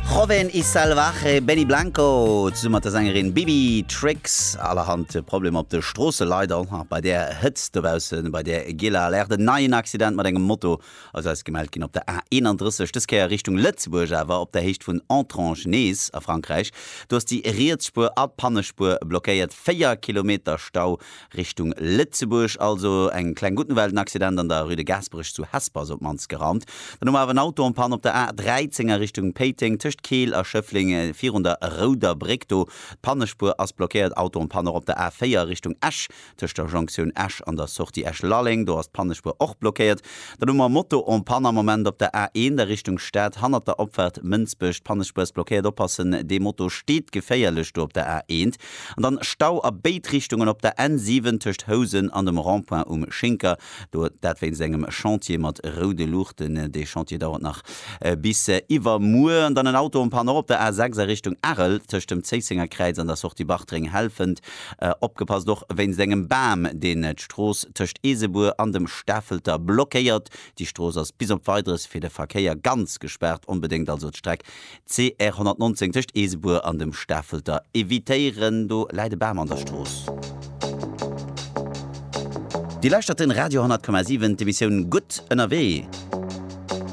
Joven y Salvaje, Benny Blanco zesumme mat der Sängerin Bibi Trix. Allerhand Problemer op de Stroosse leider och nach bei där Hëtzt dobaussen, bei där gieler Alerte. En neien Accident mat engem Moto ass eis gemellt ginn op der A31, dës Kéier Richtung Lëtzebuerg awer op der Héicht vun Entrange nees a Frankräich. Do ass déi riets Spuer a d'Pannespuer blockéiert, 4 Kilometer Stau Richtung Lëtzebuerg also. Eng kleng gutt Nouvelle, den Accident an der Rue de Gaasperech zu Hesper ass op d'mannst geraumt. Dann hu mer awer en Auto en panne op der A 13 a Richtung Péiteng tëscht Keel a Schëffleng virun der Rouder Bréck do. D'Pannespuer ass blockéiert. Auto en panne och op der A 4 a Richtung Esch tëscht der Jonktioun Esch an der Sortie Esch-Lalleng. Do ass d'Pannespuer och blockéiert. Dann hu mer Moto en panne am Moment op der A1 a Richtung Stad hannert der Opfaart Mënsbech. D'Pannespuer ass blockéiert. Oppassen, dee Moto steet geféierlech do op der A1. An dann Stau a béid Richtungen op der N7 tëscht Housen an dem Rond-point um Schinker. Do, dat wéinst engem Chantier mat roude Luuchten. Dee Chantier dauert nach bis iwwermuer. An dann en Auto en panne och op der A6 a Richtung Arel tëscht dem Zéissenger Kräiz an der Sortie Bartreng Helfent. Opgepasst och wéinst engem Bam, deen d'Strooss tëscht Eesebuer an dem Stafelter blockéiert. Déi Strooss ass bis op Weideres fir de Verkéier ganz gespaart. Onbedéngt also d'Streck CR 119 tëscht Eesebuer an dem Stafelter evitéieren, do läit e Bam an der Strooss. Dir lauschtert den Radio 100,7, d'Emissioun Gutt ënnerwee.